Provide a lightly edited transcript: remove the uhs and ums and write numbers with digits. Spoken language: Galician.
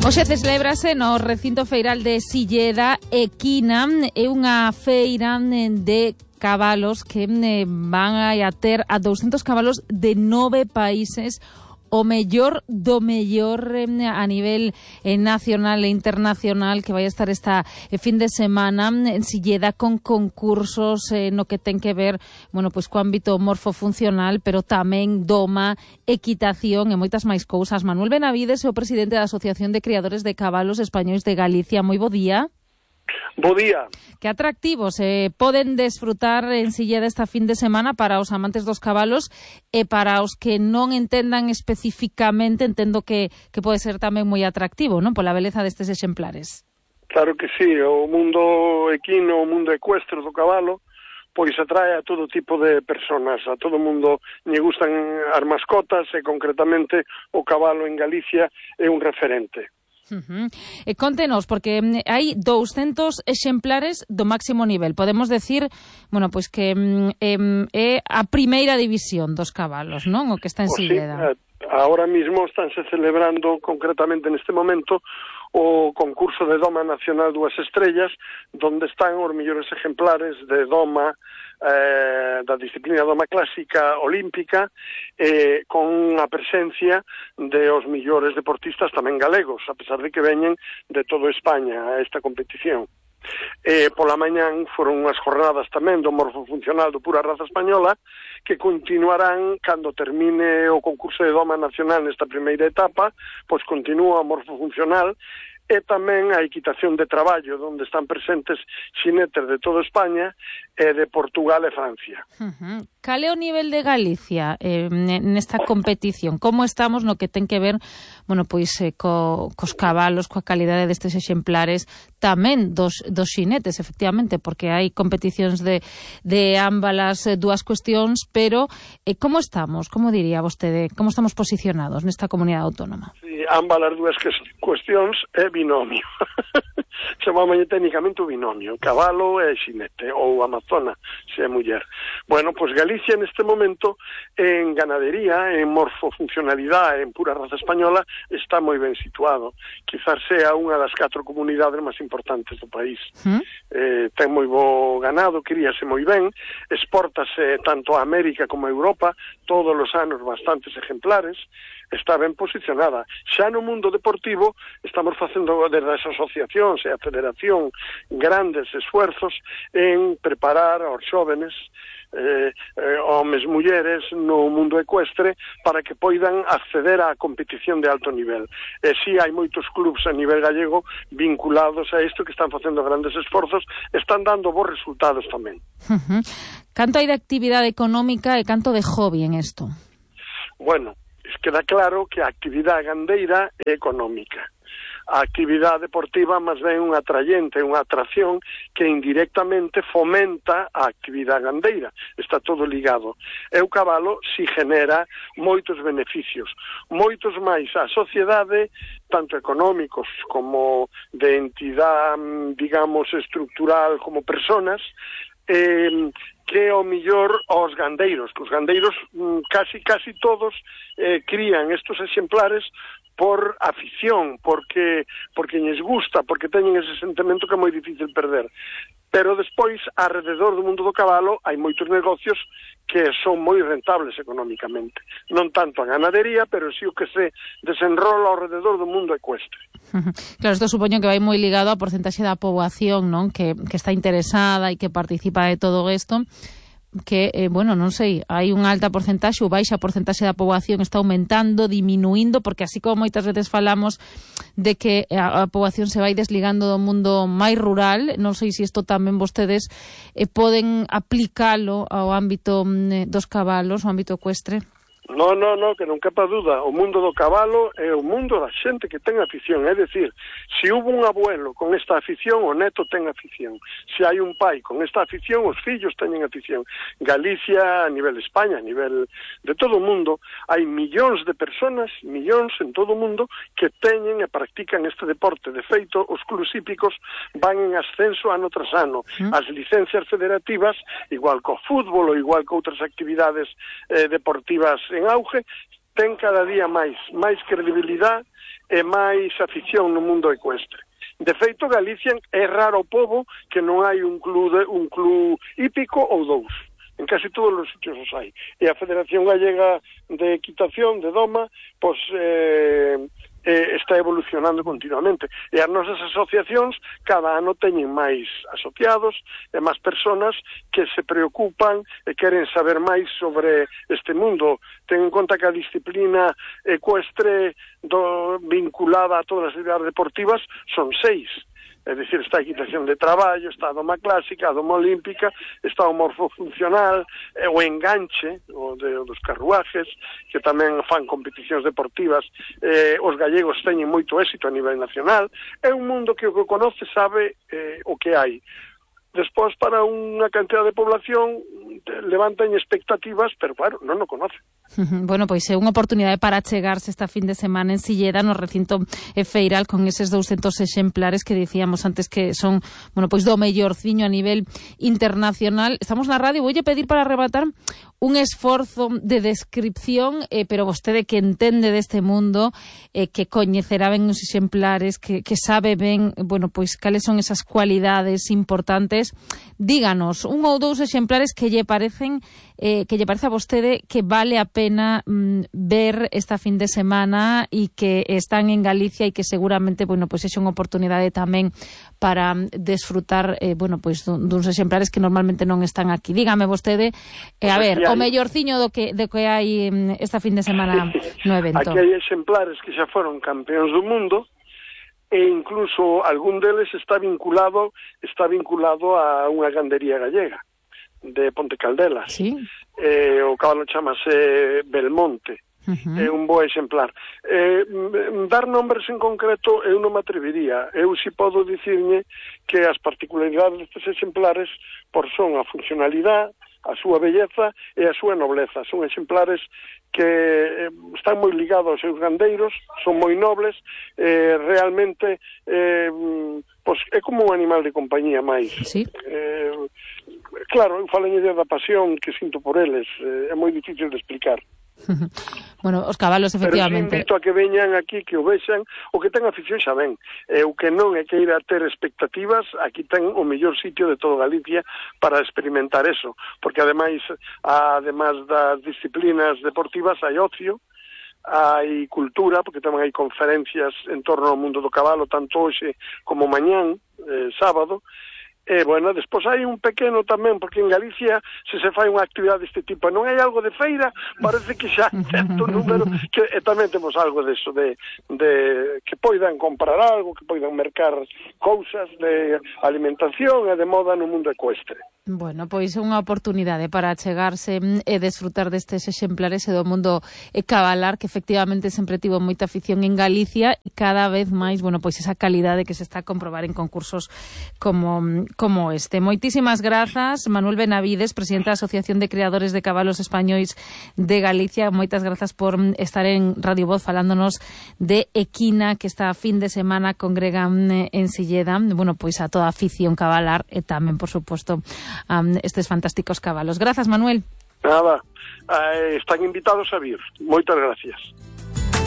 Hoxe celebrase no recinto feiral de Silleda Equina, é unha feira de cabalos que van a ter a 200 cabalos de 9 países, o mellor do mellor a nivel nacional e internacional, que vai a estar esta fin de semana en Silleda con concursos no que ten que ver, bueno, pois co ámbito morfofuncional, pero tamén doma, equitación e moitas máis cousas. Manuel Benavides é o presidente da Asociación de Criadores de Cabalos Españois de Galicia. Moi bo día. Bo día. Que atractivos poden desfrutar en Silleda esta fin de semana para os amantes dos cabalos e para os que non entendan especificamente, entendo que pode ser tamén moi atractivo, non? Pola beleza destes exemplares. Claro que sí, o mundo equino, o mundo ecuestre do cabalo, pois atrae a todo tipo de personas, a todo mundo lle gustan as mascotas e concretamente o cabalo en Galicia é un referente. Contenos, porque hai 200 exemplares do máximo nivel. Podemos decir, bueno, pois que é a primeira división dos cabalos, non? O que está en Silleda. Sí, ahora mismo estánse celebrando concretamente neste momento o concurso de Doma Nacional 2 Estrellas, donde están os mellores exemplares de doma da disciplina doma clásica olímpica, con a presencia de os mellores deportistas tamén galegos, a pesar de que veñen de toda España a esta competición. Pola mañán foron unhas jornadas tamén do morfofuncional do pura raza española, que continuarán cando termine o concurso de doma nacional nesta primeira etapa, pois continúa o morfofuncional e tamén a equitación de traballo, onde están presentes xinetes de toda España e de Portugal e Francia. Cal é o nivel de Galicia nesta competición? Como estamos no que ten que ver, bueno, pois cos cabalos, coa calidade destes exemplares, tamén dos xinetes, efectivamente, porque hai competicións de ambas dúas cuestións, pero como estamos, como diría vostede, como estamos posicionados nesta comunidade autónoma? Sí, ambas as dúas cuestións é binomio. Chamámolle técnicamente o binomio, cabalo e xinete, ou amazona, se é muller. Bueno, pois Galicia neste momento en ganadería, en morfofuncionalidade, en pura raza española, está moi ben situado. Quizás sea unha das 4 comunidades máis importantes do país. Ten moi bo ganado, críase moi ben, exportase tanto a América como a Europa, todos os anos bastantes exemplares, está ben posicionada. Xa no mundo deportivo estamos facendo desde as asociacións e a federación grandes esfuerzos en preparar aos xóvenes, homes, mulleres no mundo ecuestre para que poidan acceder á competición de alto nivel. E si hai moitos clubs a nivel gallego vinculados a isto que están facendo grandes esforzos, están dando bons resultados tamén. Canto hai de actividade económica e canto de hobby en isto? Bueno, queda claro que a actividade gandeira é económica. A actividade deportiva máis ben unha atrayente, unha atracción que indirectamente fomenta a actividade gandeira. Está todo ligado. E o cabalo si genera moitos beneficios, moitos máis á sociedade, tanto económicos como de entidade, digamos, estructural como personas, que o mellor aos gandeiros, que os gandeiros casi todos crían estos exemplares por afición, porque lles gusta, porque teñen ese sentimento que é moi difícil perder. Pero despois, alrededor do mundo do cabalo, hai moitos negocios que son moi rentables económicamente. Non tanto a ganadería, pero sí o que se desenrola alrededor do mundo ecuestre. Claro, isto supoño que vai moi ligado á porcentaxe da poboación, non? Que está interesada e que participa de todo isto, que, bueno, non sei, hai unha alta porcentaxe ou baixa porcentaxe da poboación, está aumentando, diminuindo, porque así como moitas veces falamos de que a poboación se vai desligando do mundo máis rural, non sei se isto tamén vostedes poden aplicalo ao ámbito dos cabalos, ao ámbito ecuestre. No, que non quepa dúda, o mundo do cabalo é o mundo da xente que ten afición, é dicir, se hubo un abuelo con esta afición, o neto ten afición, se hai un pai con esta afición, os fillos teñen afición. Galicia, a nivel de España, a nivel de todo o mundo, hai millóns de personas, millóns en todo o mundo, que teñen e practican este deporte. De feito, os clubs hípicos van en ascenso ano tras ano. As licencias federativas, igual co fútbol ou igual que outras actividades deportivas en auge, ten cada día máis credibilidade e máis afición no mundo ecuestre. De feito, Galicia é raro o pobo que non hai un club hípico ou dous. En casi todos os sitios os hai. E a Federación Gallega de Equitación, de Doma, pois está evolucionando continuamente. E as nosas asociacións cada ano teñen máis asociados e máis persoas que se preocupan e queren saber máis sobre este mundo. Ten en conta que a disciplina ecuestre vinculada a todas as actividades deportivas son 6. É dicir, está a equitación de traballo, está a doma clásica, a doma olímpica, está o morfofuncional, o enganche, dos carruajes, que tamén fan competicións deportivas. Os gallegos teñen moito éxito a nivel nacional. É un mundo que o que conoce sabe o que hai. Despois, para unha cantidad de población, levantan expectativas, pero claro, non o conoce. Bueno, pois é unha oportunidade para chegarse esta fin de semana en Silleda, no recinto feiral, con eses 200 exemplares que dicíamos antes que son, bueno, pois do mellorciño a nivel internacional. Estamos na radio, voulle pedir para arrebatar un esforzo de descripción, pero vostede que entende deste mundo, que coñecerá ben os exemplares, que sabe ben, bueno, pois cales son esas cualidades importantes. Díganos un ou dous exemplares que lle parece a vostede que vale a pena ver esta fin de semana e que están en Galicia e que seguramente, bueno, pois é unha oportunidade tamén para desfrutar, bueno, pois duns exemplares que normalmente non están aquí. Dígame vostede, a ver, o mellorciño do que hai esta fin de semana no evento. Aquí hai exemplares que xa foron campeóns do mundo e incluso algún deles está vinculado a unha gandería gallega de Ponte Caldelas. Sí. O cabalo chamase Belmonte. É un bo exemplar. Dar nombres en concreto eu non me atrevería. Eu si podo dicirme que as particularidades destes exemplares son a funcionalidade, a súa belleza e a súa nobleza. Son exemplares que están moi ligados aos seus gandeiros, son moi nobles, realmente é como un animal de compañía máis. Sí. Claro, eu falo da pasión que sinto por eles, é moi difícil de explicar. Bueno, os cabalos, efectivamente. Pero invito a que veñan aquí, que o vexan, o que ten afición xa ven. O que non é que ir a ter expectativas, aquí ten o mellor sitio de toda Galicia para experimentar eso, porque ademais das disciplinas deportivas hai ocio, hai cultura, porque tamén hai conferencias en torno ao mundo do cabalo, tanto hoxe como mañán, sábado. Bueno, despois hai un pequeno tamén, porque en Galicia se fai unha actividade deste tipo, non hai algo de feira, parece que xa hai certo número, que tamén temos algo deso, de que poidan comprar algo, que poidan mercar cousas de alimentación e de moda no mundo ecuestre. Bueno, pois é unha oportunidade para chegarse e desfrutar destes exemplares e do mundo cabalar, que efectivamente sempre tivo moita afición en Galicia e cada vez máis, bueno, pois esa calidade que se está a comprobar en concursos como este. Moitísimas grazas, Manuel Benavides, presidente da Asociación de Criadores de Cabalos Españois de Galicia. Moitas grazas por estar en Radio Voz falándonos de Equina, que esta fin de semana congregan en Silleda, bueno, pois a toda a afición cabalar e tamén, por suposto, estes fantásticos cabalos. Grazas, Manuel. Nada, están invitados a vir. Moitas gracias.